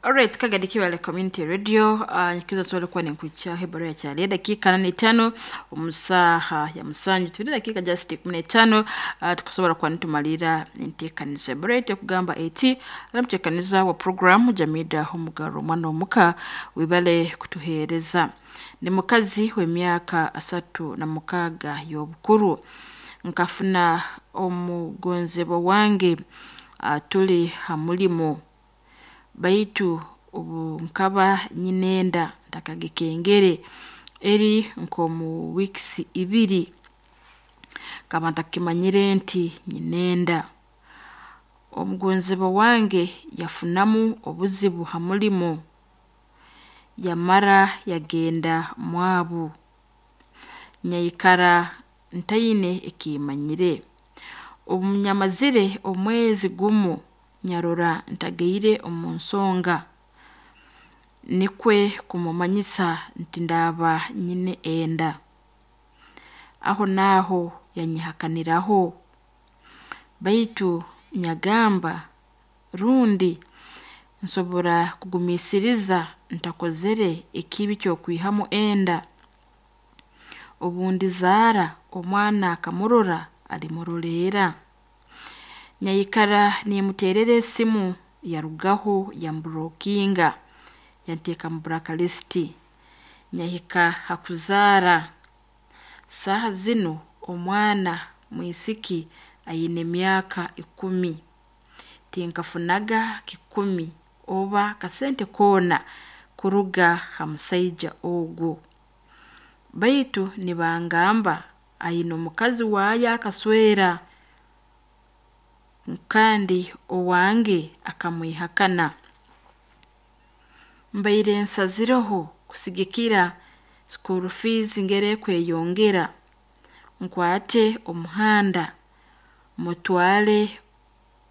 Alright, Kagadi Kiwale Community Radio, nyikizo swali kuwa ni nkucha hebaro ya chali dakika 85 omusaha ya musanju tuli dakika just 15, tukusobola kuba nitumalira enteekaniza ebarete kugamba eti alamuteekaniza wa program Jamida Omugaro omwana omuka wibale kutuheereza. Ni mukazi w'emyaka 36 y'obukuru. Nkafuna omugonzebwa wange tuli ha mulimo, baitu obu nkaba nyinenda ntakagikengere eri nk'omu weeks ibiri, nkaba ntakimanyire nti nyinenda. Omugonzebwa wange yafunamu obuzibu ha mulimo, yamara yagenda mwabu. Nyaikara ntaine ekimanyire. Obu nyamazire omwezi gumu nyarora ntagaire omu nsonga, nikwe kumumanyisa nti ndaaba nyine enda. Aho naaho yanyehakaniraho, baitu nyagamba rundi nsobora kugumiisiriza ntakozere ekibi ky'okwihamu enda. Obu ndizaara omwana akamurora alimuroleera. Nyaikara nimuteerera esimu yarugaho yamburookinga yanteeka mu blacklist. Nyahika ha kuzaara, saaha zinu omwana mwisiki aine emyaka 10. Tinkafunaga kikumi oba kasente koona kuruga ha musaija ogu. Baitu nibangamba aine omukazi waayo akaswera kandi owange akamwihakana. Mbaire nsazireho kusigikira school fees ngeri ekweyongera, nkwate omuhanda mutwale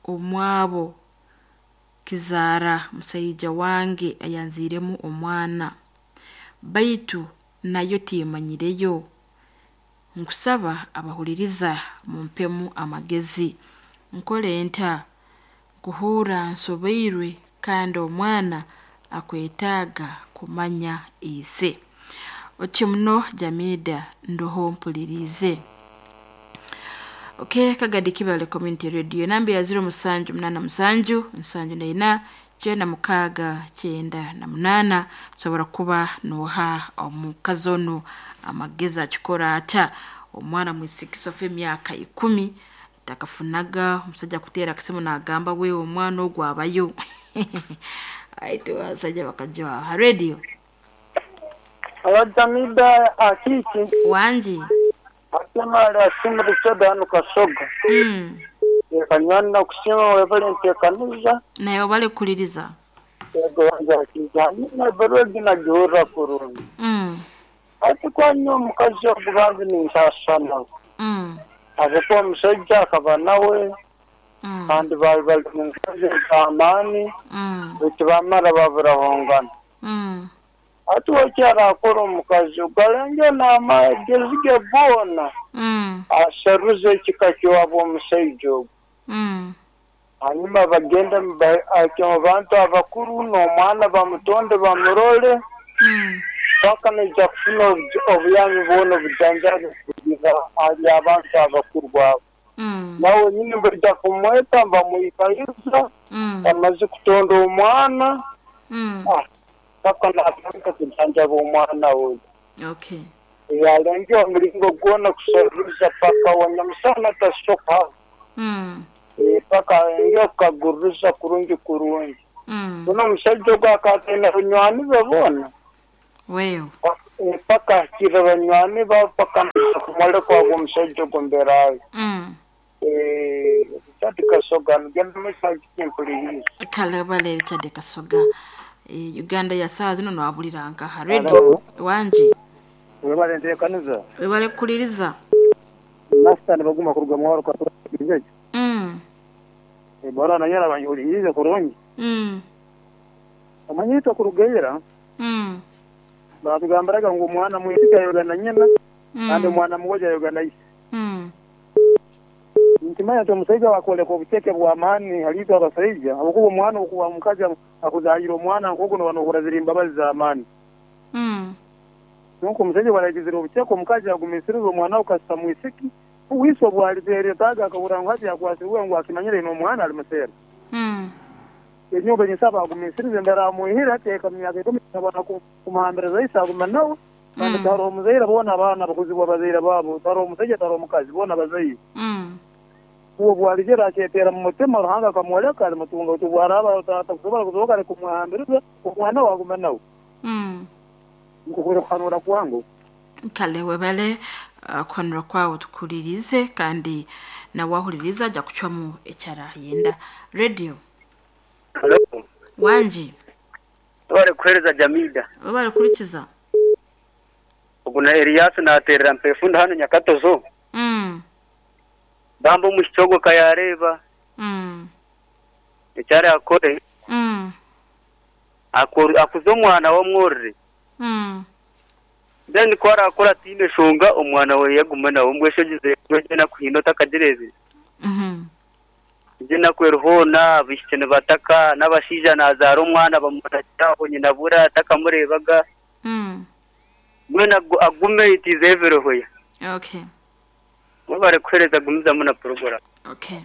omwabo kizaara musaija wange ayanziiremu omwana. Baitu nayo timmanyireyo. Nkusaba abahuliriza mumpemu amagezi. Nkole nta? Nkuhuurra nsobeirwe kandi omwana akwetaaga kumanya ise. Oti muno Jamida ndoho mpuliriize. Okay, Kagadi Kibale Community Radio enamba ya 0787 74 96 98 sobora kuba nooha omukazi onu amagezi akikora ata. Omwana mwisiki sofa emyaka 10 takafunaga omusaija akuteera akasimu naagamba wewe omwana ogu abayo. Baitu abasaija bakajwaha. Ha radio. Aba Jamida Akiki. Wangi. Ate Asimu Richard hanu Kasoga. Kanywani nakusiima webale nteekaniza. Naye obale kukuliriza. Yego wange Akiki. Hanyuma ebaruha egi nagihurra kurungi. Hati kwanywa omukazi ogu bambi ninsaasa nawe. Habwokuba omusaija akaba nawe kandi baali bali mu nkazi ez'amaani baitu bamara baburahongana. Hati we eki araakora omukazi ogu alenge n'amagezi ge goona asaruze ekika ky'owabu omusaija ogu. Hanyuma bagende omu bantu abakuru n'omwana bamutonde bamurole paka naija kufuna obuyambi bwona obujanjabi kuruga hali abantu abakuru abo. Nawe wenyini baija kumweta nibamwikaliza bamaze kutonda omwana paka naatandika kujanjaba omwana we. Okay. Yalenge omulingo gwona kusaruza paka wanyamusana tasoka. Paka alenge okukaguruza kurungi kurungi. Buno omusaija ogu akataine banywani be boona. Wewe. Paka ahikire banywani be paka naija kumwoleka ogu omusaija ogu embera ye. Richard Kasoga nigenda mumaiso mpuliriize. Kale obale Richard Kasoga. Uganda ya saaha zinu noabulira nkaha radio. Wangi. Webale nteekaniza. Webale kukuliriza. Nasita nibaguma kuruga mwaro kwa kijiji. Bora na nyara banjulirize kurungi. Amanyito kurugeira. Baratugambiraga ngu omwana mwisiki ayoga na nyina kandi omwana mugoja ayoga na ise. Ninkimanya nti omusaija wakwoleka obuceke bw'amaani hali itwe abasaija habwokuba omwana okuba omukazi akuzaaliire omwana nk'ogu nooba noohurra ziri mbabazi z'amaani. Kwonka omusaija obu aragizire obuceke omukazi agumiisiriza omwana we kasita mwisiki, uwe ise obu alibeetaaga akahurra ngu hati yakwasirwe ngu akimanyire aine omwana alimuseera. Enyowe ninsaba agumiisirize ndaramwihire hati yahika mu myaka ikumi nabona kumuhambiriza ise agume nawe kandi tiharoho muzaire boona abaana bakuzibwa bazaire baabo tiharoho musaija tiharoho mukazi boona bazaire. Uwe obu aligera akyeteera mu mutima Ruhanga akamwoleka alimutunga baitu obu araaba atakusobora kuzoka aleke kumwehambiriza omwana we agume nawe. Nikwo kuli kuhanura kwange. Kale webale kuhanura kwawe tukuhuliriize kandi nawe ahuliriize aja kucwamu eki arayenda. Radio. Halo. Wangi. Webale kuhereza Jamida. Webale kuhurikiza. Ogu na Elias naterera Mpefunda hanu Nyakatozo. Bambi omwishiki ogwo ka yareeba eki arakore akuze omwana we amworore. Then ku arakore ataine nshonga omwana we agume nawe. Mbwenu shi ogizire ngu egyo enaku haine otakagireebire? Egyo enaku eri hoona, abaishiki nibataka, n'abashaija naazaara omwana bamurakira aho nyina bura atakamureebaga. Mbwenu agume it is everywhere. Okay. Mwebare kuheereza gumizamu na puroguramu. Okay.